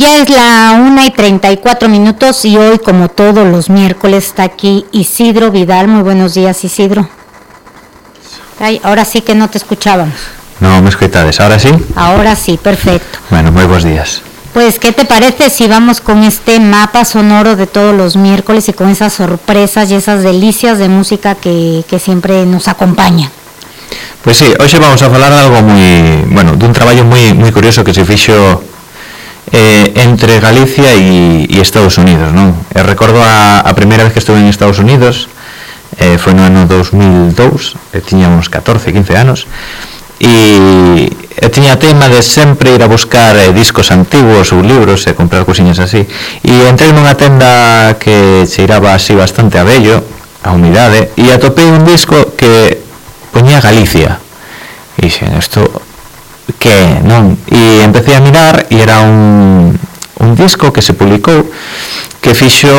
ya es la 1:34 y hoy, como todos los miércoles, está aquí Isidro Vidal. Muy buenos días, Isidro. Ay, ahora sí que no te escuchábamos. No me escuchades, ¿ahora sí? Ahora sí, perfecto. Bueno, muy buenos días. Pues, ¿qué te parece si vamos con este mapa sonoro de todos los miércoles y con esas sorpresas y esas delicias de música que siempre nos acompañan? Pues sí, hoxe vamos a falar de algo moi, bueno, dun traballo moi curioso que se fixo entre Galicia e Estados Unidos, non? Recordo a primeira vez que estuve en Estados Unidos, foi no ano 2002, tiñamos 14, 15 anos, e tiña tema de sempre ir a buscar discos antigos ou libros e comprar cousiñas así, e entrei nunha tenda que cheiraba así bastante a vello, a humidade, e atopei un disco que poñía Galicia, e dixen, isto que non? E empecé a mirar e era un disco que se publicou que fixo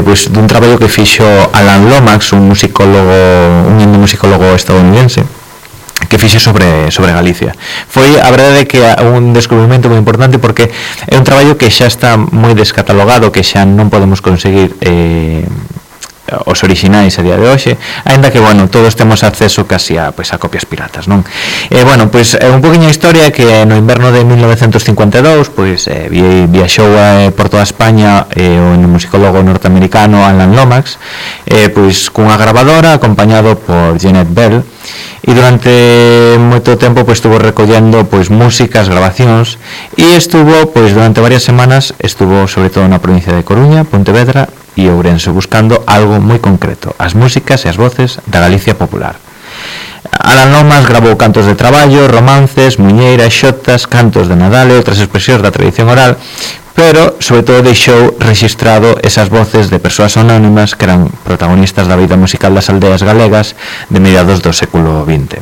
pues, dun traballo que fixo Alan Lomax, un musicólogo estadounidense, que fixe sobre Galicia. Foi, a verdade, que un descubrimento moi importante porque é un traballo que xa está moi descatalogado, que xa non podemos conseguir os orixinais a día de hoxe, aínda que, bueno, todos temos acceso casi a copias piratas, non? Bueno, pois un poquinho a historia que no inverno de 1952, pois viaxou por toda España o musicólogo norteamericano Alan Lomax, pois cunha grabadora acompañado por Jeanette Bell, e durante moito tempo pois estuvo recollendo pois músicas, grabacións, e estuvo pois durante varias semanas, estuvo sobre todo na provincia de Coruña, Pontevedra e Ourense, buscando algo moi concreto, as músicas e as voces da Galicia popular. Alan Lomax grabou cantos de traballo, romances, muñeiras, xotas, cantos de Nadal e outras expresións da tradición oral, pero sobre todo deixou rexistrado esas voces de persoas anónimas que eran protagonistas da vida musical das aldeas galegas de mediados do século XX.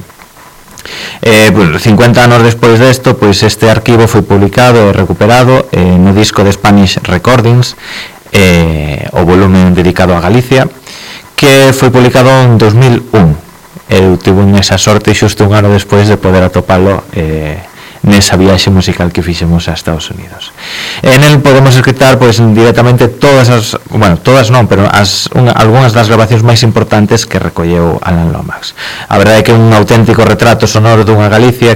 50 anos despois desto, pois este arquivo foi publicado e recuperado no disco de Spanish Recordings, o volumen dedicado a Galicia, que foi publicado en 2001. Eu tive esa sorte xusto un ano despois de poder atopalo nesa viaxe musical que fixemos a Estados Unidos. En el podemos escutar pois directamente todas as, bueno, todas non, pero algunhas das grabacións máis importantes que recolleu Alan Lomax. A verdade é que é un auténtico retrato sonoro dunha Galicia